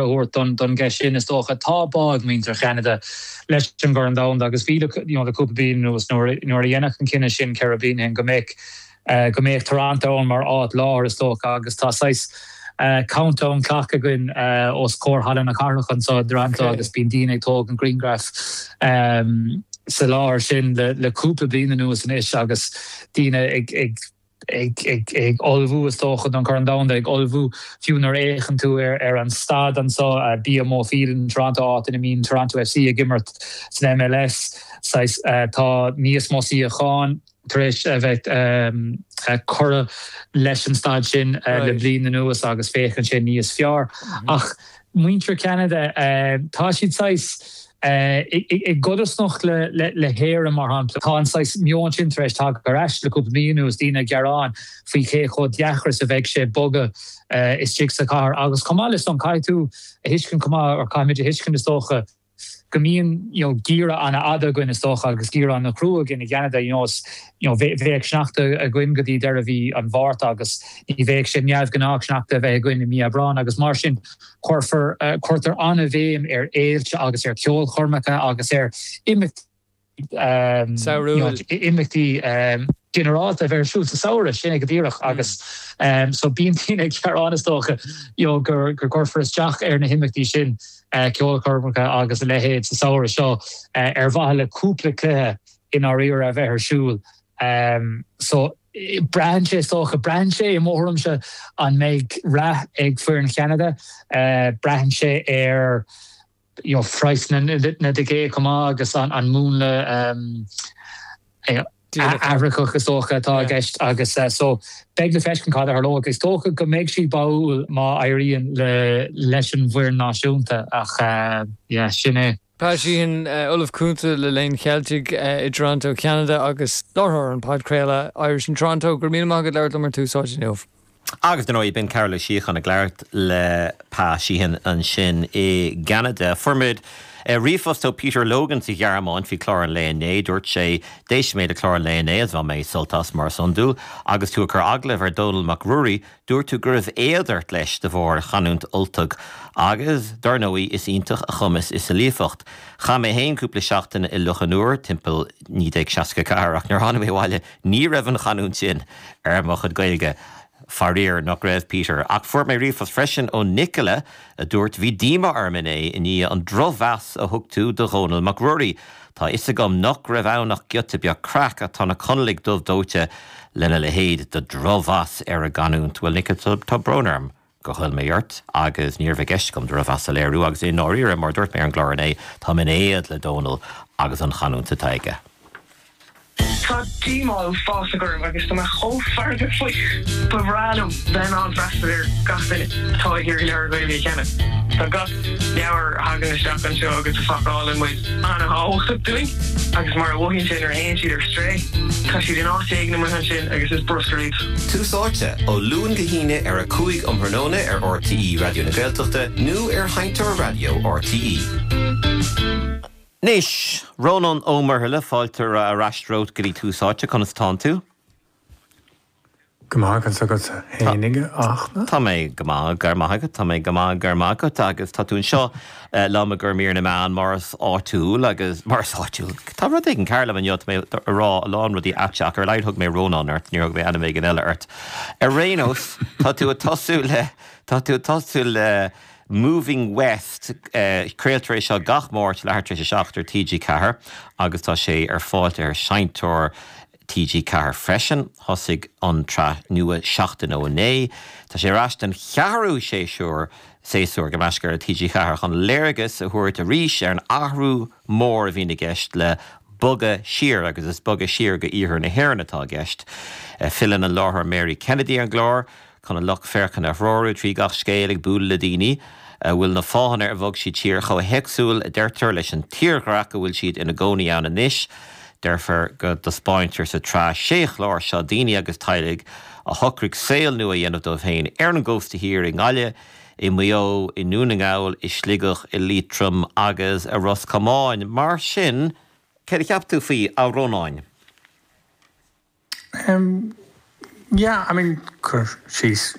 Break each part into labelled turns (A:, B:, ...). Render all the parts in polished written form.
A: a thabhairt don gceist sin, is dócha. Tá bá ag muintir Cheanada leis an gCorn Domhanda agus bhí le you know le cúpla bliain anuas nuair nuair a deineadh an cinneadh sin 4 bliana ó shin go mbeadh go mbeadh Toronto ann mar áit láthair is dócha agus tá saghas countdown clock againn os comhair Halla na Cathrach anseo i dToronto agus bíonn daoine ag tógaint grianghraf sa láthair sin le cúpla bliain anuas anois agus daoine ag ag ag ullmhú is dócha don Chorn Domhanda, ag ullmhú fiú nuair a fhéachann tú ar an staid anseo, BMO Field in Toronto, áit ina mbíonn Toronto FC ag imirt san MLS, saghas tá níos mó suíochán tar éis a bheith curtha leis an staid sin le bliain anuas agus féachann sé níos fearr. Ach muintir Cheanada, tá siad saghas i gcodarsnacht le hÉirinn, mar shampla. Tá an saghas meon sin tar éis teacht ar ais le cúpla mí anuas, daoine ag gearán faoi cé chomh deacair is a bheidh sé bogadh istigh sa chathair. Agus chomh maith le san, caithfidh tú a thuiscint chomh maith, or caithfimid a thuiscint is dócha, go mbíonn you know geimhreadh an-fhada againn is dócha agus geimhreadh an-chrua againn i gCeanada you know is you know bheadh sneachta againn go dtí deireadh mhí an Mhárta agus ní bheadh sé neamhghnách sneachta a bheith againn i mí Aibreáin agus mar sin cuirfear cuirtear an-bhéim ar fhéilte agus ar cheolchoirmeacha agus ar imeachtaí
B: Samhradh.
A: imeachtaí ginearálta a bheith ar siúl sa samhradh, sin é go díreach agus so bíonn daoine ag gearán is dócha you know gur go gcuirfear isteach ar na himeachtaí sin, ceolchoirmeacha agus a leithéid sa samhradh seo ar mhaithe le cúpla cluiche i ndáiríre a bheith ar siúl. So braitheann sé is dócha, braitheann sé i mo thuairimse an mbeidh rath ag foireann Cheanada, braitheann sé ar you know praghsanna na dticéad chomh maith agus an múnla athraitheach is dócha atá i gceist agus so beidh le feiscint cad a tharlóidh. Is dócha go mbeidh siad báúil má éiríonn leis an bhfoireann náisiúnta ach yeah sin é.
B: Pat Sheehan, Ollamh Cúnta le Léann Cheiltigh i dToronto, Ceanada agus láithreoir an podchraoladh Irish in Toronto. Go raibh míle maith agat labhairt liom ar Tús Áite inniu.
C: Agus dar ndóigh, b'in Cearbhall Ó Síocháin ag labhairt le Pat Sheehan ansin i gCeanada. Fuair muid ríomhphost ó Peter Logan sa Ghearmáin faoi chlár an lae inné. Dúirt sé, D'éist mé le clár an lae inné agus bhain mé sult as, mar is iondúil. Agus tú ag cur agallaimh ar Dónall Mac Ruairí, dúirt tú go raibh éad ort leis de bharr a chanúint Ultach agus, dar ndóigh, is iontach a chumas is a líofacht. Chaith mé féin cúpla seachtain i Loch an Iúir timpeall 1964 ach nuair a tháinig mé abhaile ní raibh an chanúint sin ar mo chuid Gaeilge. Faraor nach raibh, Peter. Ach fuair mé ríomhphost freisin ó Nicola a dúirt, Bhí díomá orm inné i ndiaidh an drochmheas a thug tú do Dhónall Mac Ruairí. Tá a fhios agam nach raibh ann ach giota beag craic ach tá na Conallaigh dubh dóite lena leithéid de dhrochmheas ar a gcanúint. Bhuel Nicola, tá brón orm gur ghoill mé ort agus ní raibh i gceist agam drochmheas a léiriú agus i ndáiríre, mar a dúirt mé ar an gclár inné, táim in éad le Dónall agus an chanúint atá aige.
D: Tá díomá uafásach orm agus tá mé chomh feargach faoi. Ba bhreá liom bheith in ann freastal ar gach duine atá ag iarraidh leabhar Gaeilge a cheannach. Tá gach leabhar a thagann isteach anseo agus a phacálann muid an-thábhachtach dúinn agus mar a mhothaíonn sé nuair a théann siad ar strae, tá siad in áit éigin amuigh ansin agus is bruscar iad.
C: Tús Áite, ó Luan go hAoine ar 5 um thráthnóna ar RTÉ Raidió na Gaeltachta nó ar Sheinnteoir Raidió RTÉ. Anois, Rónán Ó Muirthile, fáilte ar ais romhat go dtí Tús Áite. Conas atánn tú?
E: Go maith, conas agatsa fhéinig, a Fhachtna?
C: Tá mé go maith, go raibh maith agat, tá mé go maith, go raibh maith agat. Agus tá tú anseo liom i gcomhair mír na meán mar is áitiúil agus mar is áitiúil. Tá rud éigin cearr liom inniu, tá mé ag rá a lán rudaí aite ach ar a laghad thug mé Rónán ort, níor thug mé ainm éigin eile ort. Ar aon nós, tá tú ag tosú le, tá tú ag tosú le Moving West, craoltar é seo gach Máirt leathuair tar éis a 7 ar TG4 agus tá sé ar fáil ar Sheinnteoir TG4 freisin. Thosaigh an tsraith nua seachtain ó inné. Tá sé ar ais don cheathrú séasúr, séasúr, gabh mo leithscéal, ar TG4 chun léargas a thabhairt arís ar an athrú mór a bhíonn i gceist le bogadh siar agus is bogadh siar go iarthar na hÉireann atá i gceist. Filleann an láithreoir Mary Kennedy ar an gclár. chun an lucht féachana a threorú trí gach scéal, ag bualadh le daoine a bhfuil na fáthanna ar bhog siad siar chomh héagsúil, a deirtear, leis an tírdhreach a bhfuil siad ina gcónaí ann anois. Deirtear go dtaispeáintear sa tsraith sé chlár seo daoine agus teaghlaigh a shocraigh saol nua a dhéanamh dóibh féin ar an gcósta thiar, i nGaillimh, i Maigh Eo, i nDún na nGall, i Sligeach, i Liatroim agus i Ros Comáin. Mar sin, céard a cheap tú faoi, a Rónáin?
E: Em, yeah, I mean, cur síos.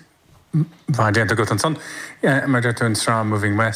E: mhaith déanta agat ansan. Mar a deir tú, an tsraith Moving West.